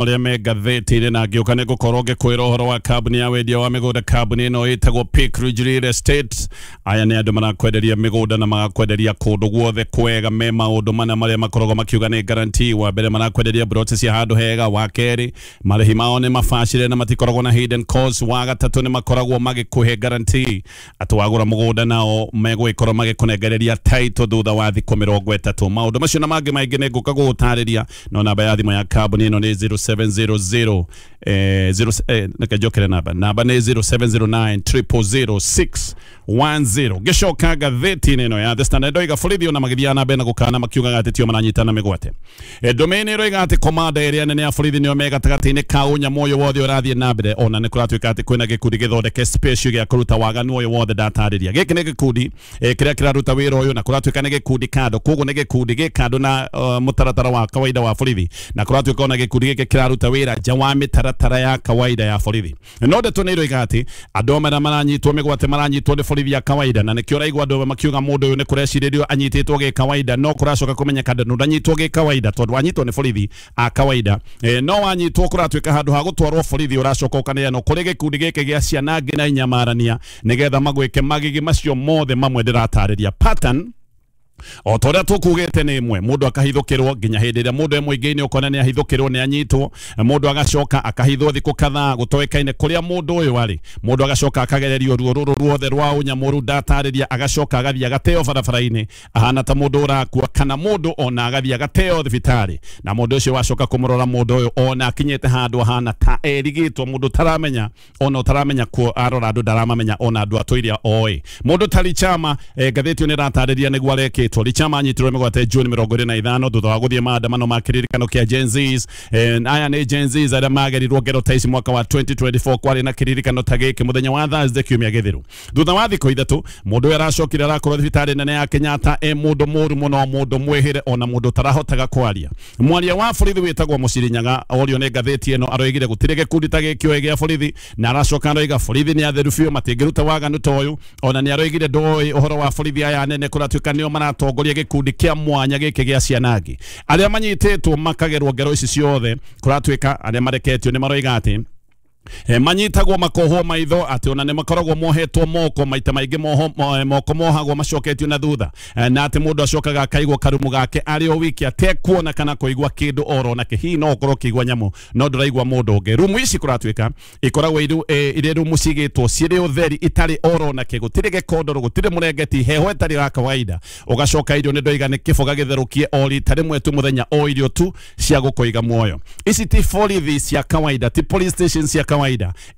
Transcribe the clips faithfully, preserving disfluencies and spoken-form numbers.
Marĩa me ngathĩti-inĩ na ngĩũka nĩ ngũkorwo ngĩkwĩra ũhoro wa kambuni ya wendia wa mĩgũnda. Kambuni ĩno ĩtagwo Peak Ridge Real Estate. Aya nĩ andũ marakwenderia mĩgũnda na magakwenderia kũndũ guothe kwega. Me maũndũ mana marĩa makoragwo makiuga nĩ guarantee. Wa mbere, marakwenderia broti cia handũ hega. Wa kerĩ, marĩhi mao nĩ mabacĩrĩre na matikoragwo na hidden cost. Wa gatatũ, nĩ makoragwo magĩkũhe guarantee atĩ wagũra mũgũnda nao megũgĩkorwo magĩkũnengereria title thutha wa thikũ mĩrongo ĩtatũ. Maũndũ macio na mangĩ maingĩ nĩ ngũka gũgũtarĩria, no namba ya thimũ ya kambuni ĩno nĩ zero seven zero zero eh, zero, eh, reke njokere namba. Namba nĩ zero seven zero nine zero zero zero six one zero. Ngĩcoka ngathĩti-inĩ ĩno ya The Standard, ndoiga borithi ona magĩthiaga na mbere na gũkana makiugaga atĩ tio maranyitana mĩgwate. Eh, Domain ĩroiga atĩ komanda ĩrĩa nene ya borithi nĩo me gatagatĩ-inĩ ka ũnyamũ ũyũ wothe ũrathiĩ na mbere. Ona nĩ kũratuĩka atĩ kwĩna gĩkundi gĩthondeke special gĩa kũruta waganu ũyũ wothe ndatarĩria. Gĩkĩ nĩ gĩkundi eh, kĩrĩa kĩraruta wĩra ũyũ, na kũratuĩka nĩ gĩkundi kando, koguo nĩ gĩkundi gĩ kando na uh, mũtaratara wa kawaida wa borithi, na kũratuĩka ona gĩkundi gĩkĩ kĩraruta wĩra nja wa mĩtaratara ya kawaida ya borithi. No ndeto nĩ iroiga atĩ andũ amwe arĩa maranyitwo mĩgwate maranyitwo nĩ borithi ya kawaida, na nĩkĩo ũraigua andũ amwe makiuga mũndũ ũyũ nĩ kũrecirĩrio anyitĩtwo gĩ kawaida, no kũracoka kũmenyeka ndanyitwo gĩ kawaida tondũ anyitwo nĩ borithi a kawaida. e, no wanyitwo kũratuĩka handũ ha gũtwarwo borithi ũracoka ũkaneanwo kũrĩ gĩkundi gĩkĩ gĩa ciana ngĩ na inyamarania nĩgetha magwĩke magigi macio mothe mamwe ndĩratarĩria. Pattern o ta ũrĩa tũkugĩte nĩ ĩmwe: mũndũ akahithũkĩrwo nginya hĩndĩ ĩrĩa mũndũ e mũingĩ-inĩ ũkona nĩ ahithũkĩrwo, nĩ anyitwo. Mũndũ agacoka akahithwo thikũ kadhaa gũtoĩkaine kũrĩa mũndũ ũyũ arĩ. Mũndũ agacoka akagererio ruo rũrũ ruothe rwa ũnyamũru ndatarĩria, agacoka agathiĩ agateo barabara-inĩ ahana ta mũndũ ũrakua, kana mũndũ ona agathiĩ agateo thibitarĩ, na mũndũ ũcio wacoka kũmũrora mũndũ ũyũ ona akinyĩte handũ ahana ta erigĩtwo, mũndũ ũtaramenya, ona ũtaramenya kuo arora andũ ndaramamenya, ona andũ atũire oĩ. Mũndũ ta Richama, eh, ngathĩti ĩyo nĩ ĩratarĩria nĩguo arekĩtwo. Richama anyitirwo mĩgwate June mĩrongo ĩrĩ na ithano thutha wa gũthiĩ maandamano ma kĩririkano kĩa Gen Zs. eh, aya nĩ Gen Zs arĩa magerirwo ngero ta ici mwaka wa twenty twenty-four. Kwarĩ na kĩririkano ta gĩkĩ mũthenya wa Thursday kiumia gĩthiru. Thutha wa thikũ ithatũ mũndũ ũyũ aracokire arakorwo thibitarĩ nene ya Kenyatta e mũndũ mũru mũno, mũndũ mwĩhĩre, ona mũndũ ũtarahotaga kwaria. Mwaria wa borithi wĩtagwo Mũciri Nyaga orio nĩ ngathĩti ĩno aroigire gũtirĩ gĩkundi ta gĩkĩ oĩ gĩa borithi, na aracoka aroiga borithi nĩ atheru biũ, matingĩruta waganu ta ũyũ. Ona nĩ aroigire ndoĩ ũhoro wa borithi aya nene kũratuĩka nĩo maratongoria gĩkundi kĩa mwanya gĩkĩ gĩa cianangi arĩa manyitĩtwo makagerwo ngero ici ciothe. Kũratuĩka arĩa mareketio nĩ maroiga atĩ E, manyitagwo makohwo maitho, atĩ ona nĩ makoragwo mohetwo moko maita maingĩ, moho, mo, moko mohagwo macoketio na thutha, e, na atĩ mũndũ acokaga akaigwo karumu gake arĩ o wiki atekuona kana kũigua kĩndũ oro nake. Hihi no ũkorwo ũkĩigua nyamũ no ndũraigua mũndũ ũngĩ. Rumu ici kũratuĩka ikoragwo iru, e, irĩ rumu cigĩtwo cirĩ ũtheri itarĩ oro nake, gũtirĩ gĩkondoro, gũtirĩ mũrengeti, heho ĩtarĩ ya kawaida. Ũgacoka irio nĩ ndoiga nĩ kĩboga gĩtherũkie o rita rĩmwe tu mũthenya, o irio tu cia gũkũiga muoyo. Ici ti borithi cia kawaida, ti police station cia kawaida.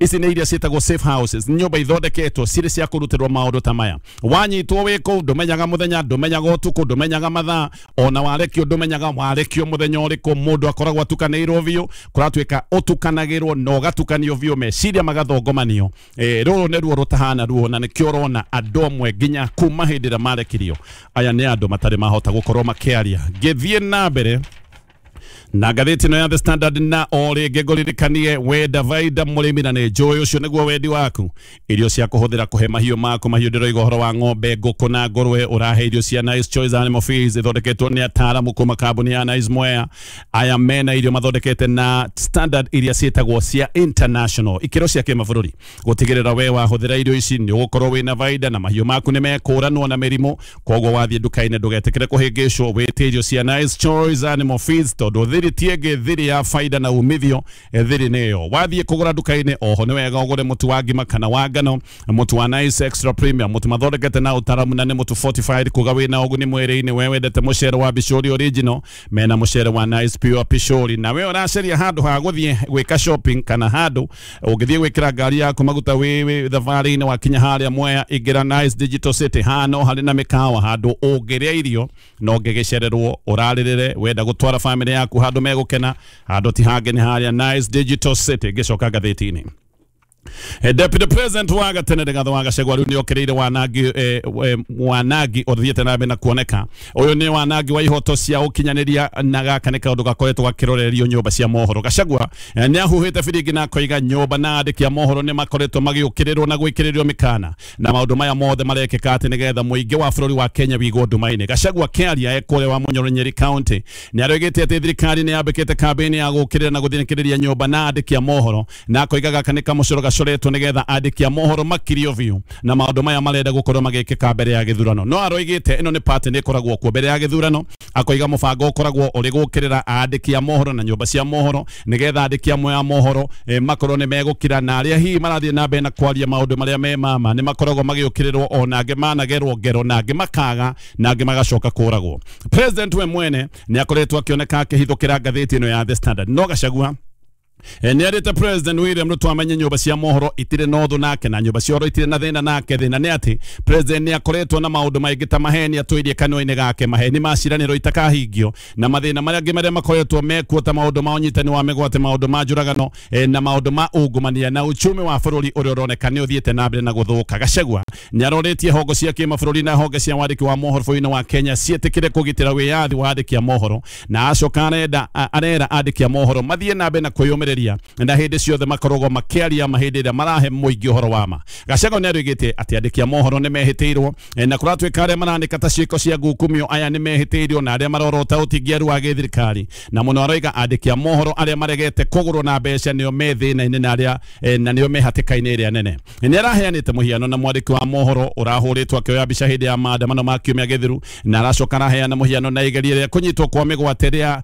Ici nĩ iria ciĩtagwo safe houses, nyũmba ithondeketwo cirĩ cia kũrutĩrwo maũndũ ta maya. Wanyitwo wĩ kũu ndũmenyaga mũthenya, ndũmenyaga ũtukũ, ndũmenyaga mathaa, ona warekio ndũmenyaga warekio mũthenya ũrĩkũ. Mũndũ akoragwo atukanĩirwo biũ, kũratuĩka ũtukanagĩrwo na ũgatukanio biũ, meciria magathongomanio. e, rũrũ nĩ ruo rũtahana ruo, na nĩkĩo ũrona andũ amwe nginya kuma hĩndĩ ĩrĩa marekirio aya nĩ andũ matarĩ mahota gũkorwo makĩaria. Ngĩthiĩ na mbere na ngathĩti ĩno ya The Standard, na o rĩngĩ ngũririkanie wenda vaida mũrĩmi, na nĩ njũĩ ũcio nĩguo wendi waku, irio cia kũhũthĩra kũhe mahiũ maku. Mahiũ ndĩroiga ũhoro wa ng'ombe, ngũkũ na ngũrwe. Ũrahe irio cia Nice Choice Animal Feeds ithondeketwo nĩ ataaramu kuma kambuni ya Nice Mwea. Aya mena irio mathondekete na standard iria ciĩtagwo cia international, ikĩro cia kĩmabũrũri, gũtigĩrĩra we wahũthĩra irio ici nĩ ũgũkorwo wĩna vaida na mahiũ maku nĩ mekũranwo na mĩrimũ. Koguo wathiĩ nduka-inĩ ndũgetĩkĩre kũhĩngĩcwo, wĩtie irio cia Nice Choice Animal Feeds, tondũ thiri ti ĩngĩ, thiri ya faida na umithio, eh, thiri nĩyo. Wathiĩ kũgũra nduka-inĩ oho nĩ wega ũgũre mũtu wa ngima kana wa ngano, mũtu wa Nice Extra Premium, mũtu mathondekete na ũtaramu na nĩ mũtu fortified, kuga wĩna ũguni mwĩrĩ-inĩ. We wendete mũcere wa Bishori original, mena mũcere wa Nice Pure Pishori. Na we ũracaria handũ ha gũthiĩ gwĩka shopping kana handũ ũngĩthiĩ gwĩkĩra ngari yaku maguta wĩ wĩ thabarĩ-inĩ, wakinya harĩa Mwea ingĩra Nice Digital City. Haha no harĩ na mĩkawa handũ ũngĩrĩa irio no ũngĩgĩcererwo ũrarĩrĩre. Wenda gũtwara famĩlĩ yaku handũ megũkena, handũ ti hangĩ nĩ harĩa Nice Digital City. Ngĩcoka ngathĩti-inĩ Deputy President wa gatene Rigathi wa Gachagua riu niokereire wanangi eh, wanangi uthiete na mbere na kuoneka uyu ni wanangi wa ihoto cia ukinyaniria na gaka ni kaundu gakoretwo gakirorerio nyumba cia mohoro. Gachagua eh, ni ahuhite biringi na akoiga nyumba na andiki a mohoro ni makoretwo magiukiriirwo na gwikiririo mikana na maundu maya mothe marekeka ati nigetha muingi wa bururi wa Kenya wigwo nduma-ini. Gachagua akiaria ekure wa Munyoro Nyeri County ni aroigite ati thirikari ni yambikite kambeni ya gukirira na guthinikiriria nyumba na andiki a mohoro na akoiga gaka ni kamucoro gacoretwo nigetha andiki a mohoro makirio biu na maundu maya marenda gukorwo magikika mbere ya githurano. No aroigite ino ni party ni ikoragwo kuo mbere ya githurano, akoiga mubango ukoragwo uri gukirira andiki a mohoro na nyumba cia mohoro nigetha andiki amwe a mohoro e, makorwo ni megukira na aria hihi marathie na mbere na kwaria maundu maria me mama ni makoragwo magiukirirwo ona angi managerwo ngero na angi makaga na angi magacoka kuragwo. President we mwene ni akoretwo akioneka akihithukira ngathĩti ĩno ya The Standard. No Gachagua nĩ arĩte President William Ruto amenye nyũmba cia mohoro itirĩ na ũthũ nake na nyũmba cia ũhoro itirĩ na thĩna nake. Thĩna nĩ atĩ President nĩ akoretwo na maũndũ maingĩ ta maheni atũirie kanua-inĩ gake, maheni ma ciranĩro itakahingio na mathĩna marĩa angĩ marĩa makoretwo mekuo ta maũndũ ma ũnyitani wa mĩgwate, maũndũ ma njũragano na maũndũ ma ungumania na uchumi wa bũrũri ũrĩa ũroneka nĩ ũthiĩte na mbere na gũthũka. Gachagua nĩ arorĩtie hongo cia kĩmabũrũri na honge cia wandĩki wa mohoro bũrũri-inĩ wa Kenya ciĩtĩkĩre kũgitĩra wĩyathi wa andĩki a mohoro na acoka arenda arera andĩki a mohoro mathiĩ na mbere na kwĩyũmĩrĩria na hĩndĩ ciothe makoragwo makĩaria ma hĩndĩ ĩrĩa marahe mũingĩ ũhoro wa ma. Gachagua nĩ arugĩte atĩ andĩki a mohoro nĩ mehĩtĩirwo na kũratuĩka arĩa marandĩka ta ciĩko cia ngukumio aya nĩ mehĩtĩirwo na arĩa marorota ũtingiaru wa gĩthirikari na mũno aroiga andĩki a mohoro arĩa maregete kũgũrwo na mbeca nĩo me thĩna-inĩ na arĩa na nĩo me hatĩka-inĩ ĩrĩa nene. Nĩ araheanĩte mũhiano na mwandĩki wa mohoro ũrahũrĩtwo akĩoya mbica hĩndĩ ya maandamano ma kiumia gĩthiru na aracoka araheana mũhiano na igeria rĩa kũnyitwo kwa mĩgwate rĩa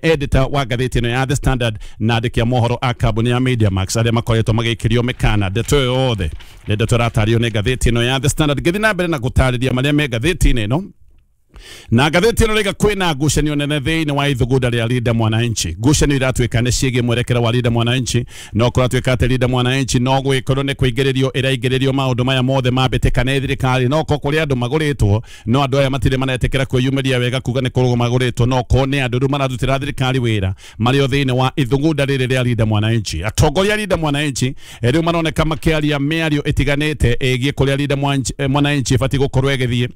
editor wa ngathĩti ĩno ya The Standard na andĩki a mohoro a kambuni ya Media Max arĩa makoretwo magĩikĩrio mĩkana. Ndeto ĩyo yothe nĩ ndeto ĩratario nĩ ngathĩti ĩno ya The Standard. Ngĩthiĩ na mbere na gũtarĩria marĩa me ngathĩti-inĩ ĩno na ngathĩti ĩno rĩga kwĩna ngucanio nene thĩinĩ wa ithugunda rĩa Linda Mwananchi. Ngucanio iratuĩka nĩ ciĩgiĩ mwerekera wa Linda Mwananchi no kũratuĩka atĩ Linda Mwananchi no gwĩkorwo nĩ kũingĩrĩrio ĩraingĩrĩrio maũndũ maya mothe mambĩtĩka nĩ thirikari no ko kũrĩ andũ magũrĩtwo no andũ aya matirĩ maretĩkĩra kwĩyumĩria wega kuga nĩ kũrũgwo magũrĩtwo no ko nĩ andũ rĩu mararutĩra thirikari wĩra marĩ o thĩinĩ wa ithugunda rĩrĩ rĩa Linda Mwananchi. Atongoria a Linda Mwananchi rĩu maroneka makĩaria mĩario ĩtiganĩte ĩgiĩ kũrĩa Linda Mwananchi ĩbatiĩ gũkorwo ĩgĩthiĩ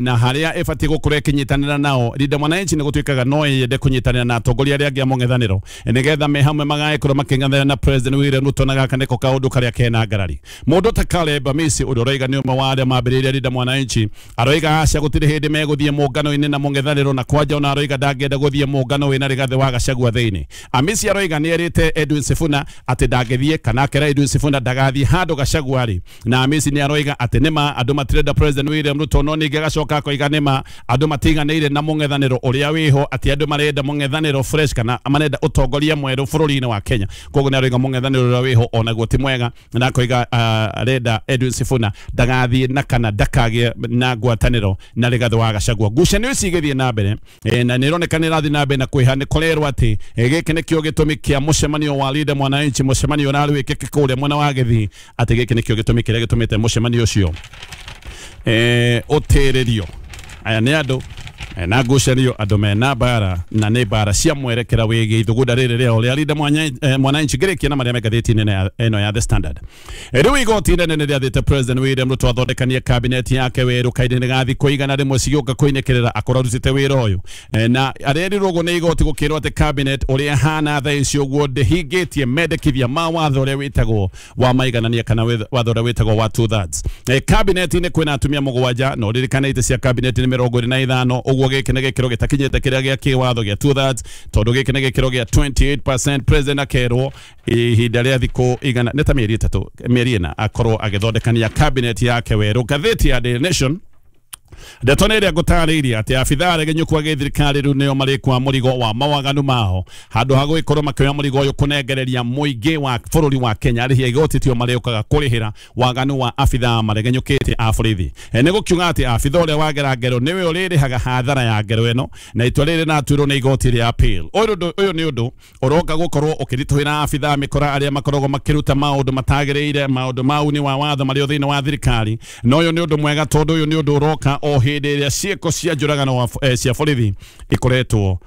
na harĩa ĩbatiĩ gũkorwo ĩkĩnyitanĩra nao. Linda Mwananchi nĩ gũtuĩkaga no yende kũnyitanĩra na atongoria arĩa angĩ a mũng'ethanĩro nĩgetha me hamwe magagĩkorwo makĩng'ethanĩra na President William Ruto na gaka nĩko kaũndũ karĩa kena ngarari. Mũndũ ta Caleb Amisi ũrĩa ũroiga nĩ ũmwe wa arĩa mambĩrĩirie Linda Mwananchi aroiga aca gũtirĩ hĩndĩ megũthiĩ mũngano-inĩ na mũng'ethanĩro na kwanja ona aroiga ndangĩenda gũthiĩ mũngano wĩna Rigathĩ wa Gachagua thĩinĩ. Amisi aroiga nĩ erĩte Edwin Sifuna atĩ ndangĩthiĩ kana akera Edwin Sifuna ndagathiĩ handũ Gachagua arĩ na Amisi nĩ aroiga atĩ nĩma andũ matirenda President William Ruto no ningĩ agacoka akoiga nĩma andũ matiganĩire na mũng'ethanĩro ũrĩa wĩho atĩ andũ marenda mũng'ethanĩro fresh kana marenda ũtongoria mwerũ bũrũri-inĩ wa Kenya. Koguo nĩ aroiga mũng'ethanĩro ũrĩa wĩho onaguo ti mwega na akoiga arenda Edwin Sifuna ndagathiĩ na kana ndakagĩe na ngwatanĩro na Rigathĩ wa Gachagua. Ngucanio ici igĩthiĩ na mbere na nĩ ĩroneka nĩ ĩrathiĩ na mbere na kwĩha nĩ kũrerwo atĩ gĩkĩ nĩkĩo gĩtũmi kĩa mũcemanio wa Linda Mwananchi, mũcemanio ũrarĩ wĩkĩke kũrĩa mwena wa Gĩthii, atĩ gĩkĩ nĩkĩo gĩtũmi kĩrĩa gĩtũmĩte mũcemanio ũcio ũtĩrĩrio. Aya nĩ andũ na ngucanio andũ mena mbara na nĩ mbara cia mwerekera wĩgiĩ ithugunda rĩrĩ rĩao rĩa Linda Mwananchi. Ngĩrĩkia na marĩa me ngathĩti-inĩ ĩno ya The Standard. Rĩu igoti inene nĩ rĩathĩte President William Ruto athondekanie kabineti yake werũ kahinda-inĩ ga thikũ igana rĩmwe cigĩũka kũinĩkĩrĩra akorwo arutĩte wĩra ũyũ na arerirwo ũguo nĩ igoti gũkĩrwo atĩ cabinet ũrĩa ĩhana thaa ici ũguo ndĩhingĩtie mendekithia ma watho ũrĩa wĩtagwo wa maiganania kana watho ũrĩa wĩtagwo wa two thirds. Kabineti-inĩ kwĩna atumia mũgwanja na ũririkane itĩ cia kabineti nĩ mĩrongo ĩrĩ na ithano ũguo gĩkĩ nĩ gĩkĩro gĩtakinyĩte kĩrĩa gĩa kĩwatho gĩa two thirds tondũ gĩkĩ nĩ gĩkĩro gĩa twenty-eight percent. President akerwo ihinda rĩa thikũ igana nĩ ta mĩeri ĩtatũ mĩeri ĩna akorwo agĩthondekania cabinet yake werũ. Ngathĩti ya Daily Nation ndeto nĩ ĩrĩa ngũtarĩirie atĩ abithaa aregenyũku a gĩthirikari rĩu nĩo marĩkua mũrigo wa mawaganu mao handũ ha gũgĩkorwo makĩoya mũrigo ũyũ kũnengereria mũingĩ wa bũrũri wa Kenya arĩhi a igoti tio marĩũkaga kũrĩhĩra waganu wa abithaa maregenyũkĩte a borithi. Nĩ gũkiuga atĩ abithaa ũrĩa wagera ngero nĩwe ũrĩrĩhaga hathara ya ngero ĩno na itua rĩrĩ rĩratuirwo nĩ igoti rĩa appeal. Ũyũ nĩ ũndũ ũroka gũkorwo ũkĩritũhĩra abithaa mĩkora arĩa makoragwo makĩruta maũndũ matagĩrĩire maũndũ ma uni wa watho marĩ thĩinĩ wa thirikari na ũyũ nĩ ũndũ mwega tondũ ũyũ nĩ ũndũ ũroka o hĩndĩ ĩrĩa ciĩko cia njũragano cia borithi ikoretwo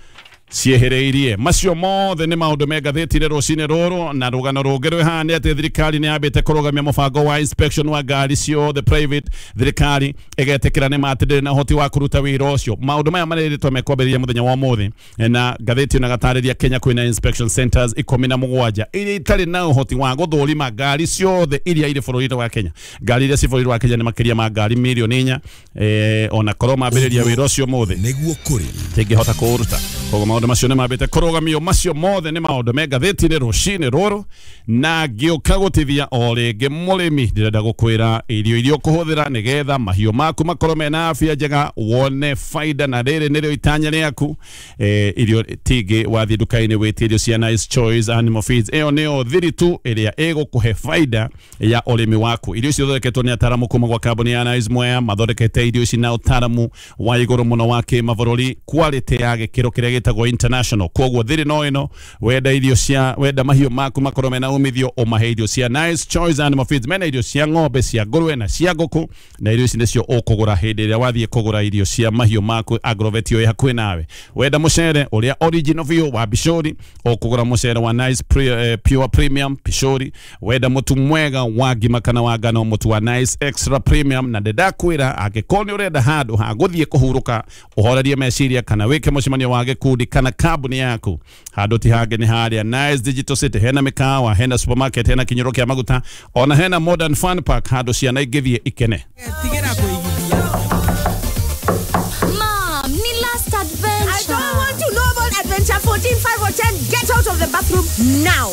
Ciehereirie macio mothe nĩ maũndũ me ngathĩti-inĩ rũcinĩ rũrũ. Na rũgano rũngĩ rwĩ haha nĩ atĩ thirikari nĩ yambĩte kũrũgamia mũbango wa inspection wa ngari ciothe private. Thirikari ĩgetĩkĩra nĩ ma atĩ ndĩrĩ na ũhoti wa kũruta wĩra ũcio. Maũndũ maya marĩrĩtwo mekwambĩrĩria mũthenya wa ũmũthĩ, na ngathĩti ĩno ĩgatarĩria Kenya kwĩna inspection centers ikũmi na mũgwanja iria itarĩ na ũhoti wa gũthũrima ngari ciothe iria irĩ bũrũri-inĩ wa Kenya. Ngari iria ci bũrũri wa Kenya nĩ makĩria ma ngari mirioni inya, eh, ona korwo mambĩrĩria wĩra ũcio ũmũthĩ nĩguo kũrĩ tingĩhota kũũruta. Koguo maũndũ macio nĩ mambĩte kũrũgamio. Macio mothe nĩ maũndũ me ngathĩti-inĩ rũcinĩ rũrũ. Na ngĩũka gũtithia o rĩngĩ mũrĩmi, ndĩrenda gũkwĩra irio iria ũkũhũthĩra nĩgetha mahiũ maku makorwo mena afya njega, wone faida, na rĩrĩ nĩrĩo itanya rĩaku. Eh, irio tingĩ wathiĩ nduka-inĩ wĩtie irio cia Nice Choice Animal Feeds, ĩyo nĩyo thiri tu ĩrĩa ĩgũkũhe faida ya ũrĩmi waku. Irio icio ithondeketwo nĩ ataramu kuma gwa kambuni ya Nice Mwea, mathondekete irio ici na ũtaramu wa igũrũ mũno wa kĩmabũrũri, quality ya gĩkĩro kĩrĩa gĩtagwo international. Koguo thiri no ĩno, wenda irio cia wenda mahiũ maku makorwo mena umithio, ũmahe irio cia Nice Choice Animal Feeds. Mena irio cia ng'ombe, cia ngũrwe na cia ngũkũ, na irio ici nĩcio ũkũgũra hĩndĩ ĩrĩa wathiĩ kũgũra irio cia mahiũ maku agrovet ĩyo ĩ hakuhĩ nawe. Wenda mũcere ũrĩa original biũ wa Bishori, ũkũgũra mũcere wa Nice Pre, eh, Pure Premium Bishori. Wenda mũtu mwega wa ngima kana wa ngano, mũtu wa Nice Extra Premium. Na ndĩrakwĩra angĩkorwo nĩ ũrenda handũ ha gũthiĩ kũhurũka, ũhorerie meciria, kana wĩke mũcemanio wa gĩkundi kana kambuni yaku, handũ ti hangĩ nĩ harĩa Nice Digital City. Hena mĩkawa, hena supermarket, hena kinyũro kĩa maguta, ona hena modern fun park handũ ciana ingĩthiĩ ikene. Tigĩra kũigithia. Mom, ni last adventure. I don't want to know about adventure fourteen, five or ten. Get out of the bathroom now.